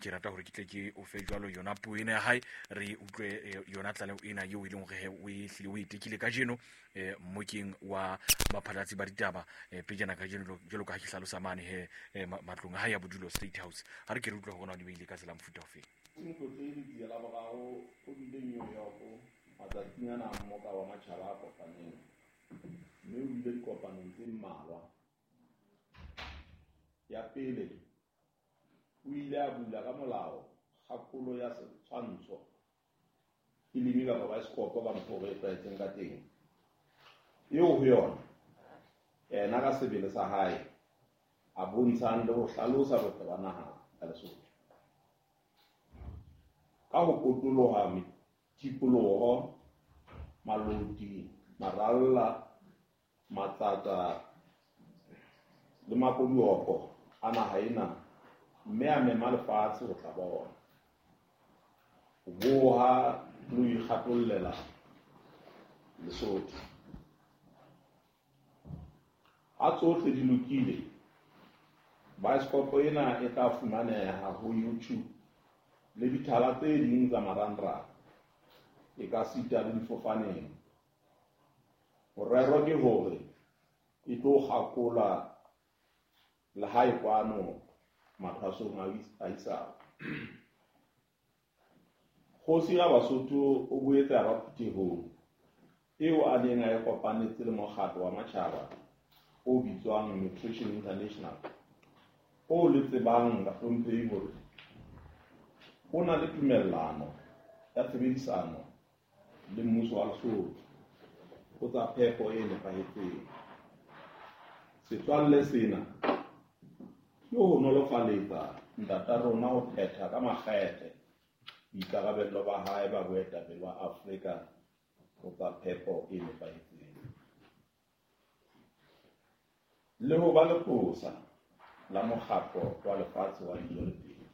Ke rata hore ke tle ke o fe jwalo yona puo ena ya hae, re utlwe yona tlaleho ena eo e leng hore o e hlile o e tekile kajeno mmokeng wa baphatlatsi ba ditaba pejana kajeno, jwalo ka ha ke hlalosa mane he matlong a hae ya bodulo State House. Ha re ke re utlwe hore na o di beile ka tsela mofuta ofe. Motlotlegi Letsie la boraro o bile New York matsatsing ana a mmoka wa matjhaba a kopaneng, mme o bile dikopanong tse mmalwa. Ya pele, o ile a bula ka molao kgakolo ya setshwantsho, filimi kapa baesekopo ka mokgwa o re e tlwaetseng ka teng, eo ho yona yena ka sebele sa hae a bontshang le ho hlalosa botle ba naha ya Lesotho ka ho potoloha tikoloho, maloti, maralla, matsatsa le makoduoko a naha ena, mme a mema lefatshe ho tla bona, ho boha le ho ikgatollela Lesotho. Ha tsohle di lokile, baesekopo ena e tla fumaneha ho YouTube le dithala tse ding tsa marangrang, e ka sita le difofaneng. Morero ke hore e tlo kgakola le hae kwano mathwasong a isao. Kgosi ya Basotho o boetse a ba phuthehong eo a neng a e kopanetse le mokgatlo wa matjhaba o bitswang Nutrition International, o le tsebang bahlomphehi hore o na le tumellano ya tshebedisano le mmuso wa Lesotho ho tsa phepo e nepahetseng. Setswalle sena ke ho nolofaletsa ntata rona ho phetha ka makgethe boikarabello ba hae ba boetapele ba Afrika ho tsa phepo e nepahetseng, le ho ba leqosa la mokgatlo wa lefatshe wa dijo le temo.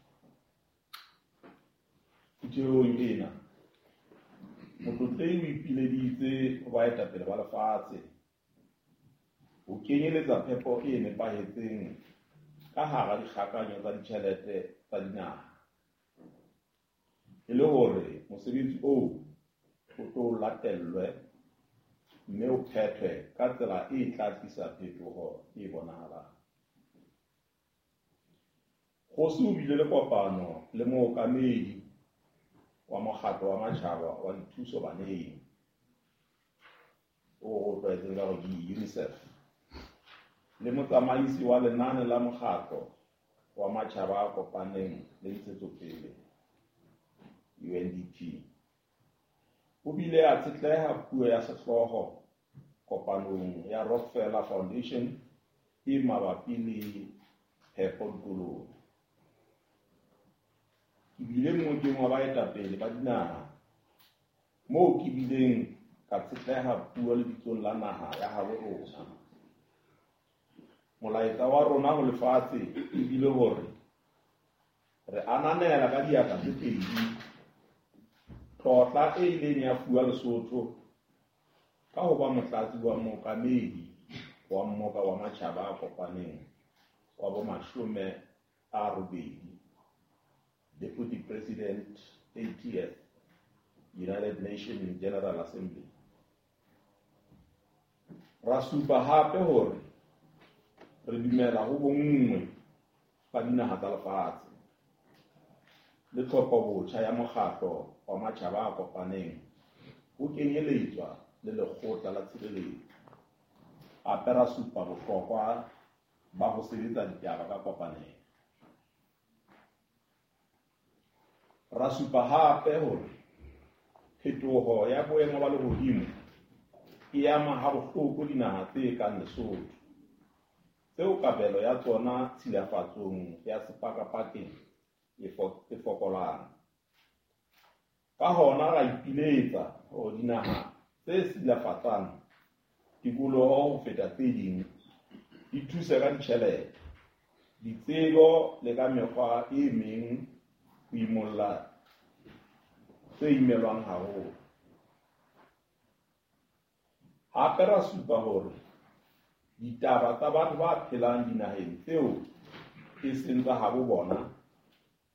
Phuthehong ena, motlotlehi o ipileditse ho baetapele ba lefatshe ho kenyeletsa phepo e nepahetseng ka hara dikgakanyo tsa ditjhelete tsa dinaha, e le hore mosebetsi oo o tlo latellwe mme o phethwe ka tsela e tla tlisa phetoho e bonahalang. Kgosi o bile le kopano le mookamedi wa mokgatlo wa matjhaba wa dithuso baneng, o tlwaetseng ka hore ke UNICEF, le motsamaisi wa lenane la mokgatlo wa matjhaba a kopaneng le ntshetsopele UNDP. O bile a tshetleha puo ya sehlooho kopanong ya Rockefeller Foundation e mabapi le phepo dikolong. Ke bile mmokeng wa baetapele ba dinaha moo ke bileng ka tshetleha puo lebitsong la naha ya habo rona. Molaetsa wa rona ho lefatshe e bile hore re ananela ka diatla tse pedi tlotla e ileng ya fuwa Lesotho ka ho ba motlatsi wa mookamedi wa mmoka wa matjhaba a kopaneng wa bo 80, Deputy President 80th United Nations General Assembly. Ra supa hape hore re dumela ho bonngwe ba dinaha tsa lefatshe le tlhopho botjha ya mokgatlo wa matjhaba a kopaneng ho kenyeletswa le lekgotla la tshireletso. Hape ra supa bohlokwa ba ho sebetsa ditaba ka kopanelo. Ra supa hape hore phetoho ya boemo ba lehodimo e ama ha bohloko dinaha tse kang Lesotho, tseo kabelo ya tsona tshilafatsong ya sepakapakeng e fokolang. Ka hona ra ipiletsa hore dinaha tse silafatsang tikoloho ho feta tse ding di thuse ka ditjhelete, ditsebo le ka mekgwa e meng ho imolla tse imelwang haholo. Hape ra supa hore ditaba tsa batho ba phelang dinaheng tseo e seng tsa habo bona